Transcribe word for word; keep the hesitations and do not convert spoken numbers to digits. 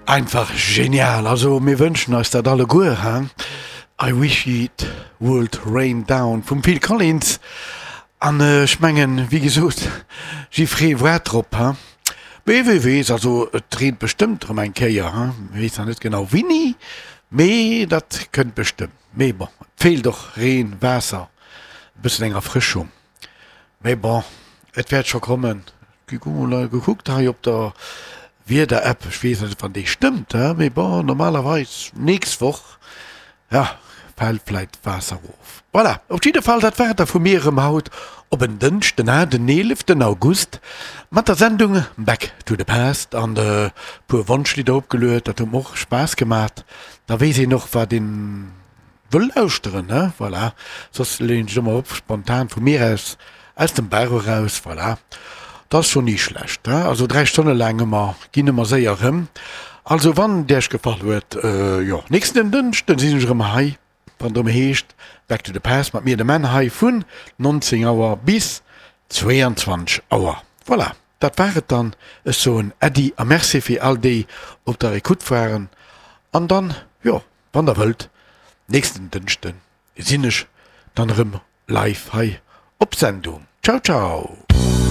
Einfach genial, also mir wënschen eis dat alleguer, he? I wish it would rain down vum Phil Collins. An ech mengen, wéi gesot, jiffree waart drop, he? Mee wie weess, also et reent bestëmmt erëm eng Kéier, he? Weess nach net genau wéini, mee dat kënnt bestëmmt. Mee bon, et feelt och Reen, Waasser, e bëssen eng Erfrëschung. Mee bon, et wäert scho kommen. Ech hu mol gekuckt hei op der Wieder-App, ech weess net, wann déi stëmmt, mee bon, normalerweis nächst Woch, ja, fält vläit d'Waasser erof. Voilà, op jidde Fall, dat war et da vu mir erëm haut op en Dënschden, den eeleften August, mat der Sendung Back to the Past an e puer Wonschlidder opgeluet. Dat huet mer och Spaass gemat. Da weess een och, wat een wëll lauschteren, ne? Voilà, soss leeën ech ëmmer op spontan vu mir aus, aus dem Bauch eraus, voilà. Dat ass scho ni schlecht, he? Also dräi Stonne laang ëmmer, ginn ëmmer séier erëm. Also wann et Iech gefall huet, jo, nächsten Dënschden sinn ech erëm hei, wann et erëm heescht Back to the Past mat mir, dem Menn, hei vun neunzéng Auer bis zweeanzwanzeg Auer. Voilà, dat war et dann. Ech soen Äddi a Merci fir all déi op der Ecoute waren an dann, jo, wann der wëllt, nächsten Dënschden sinn ech dann erëm live hei op Sendung. Ciao ciao!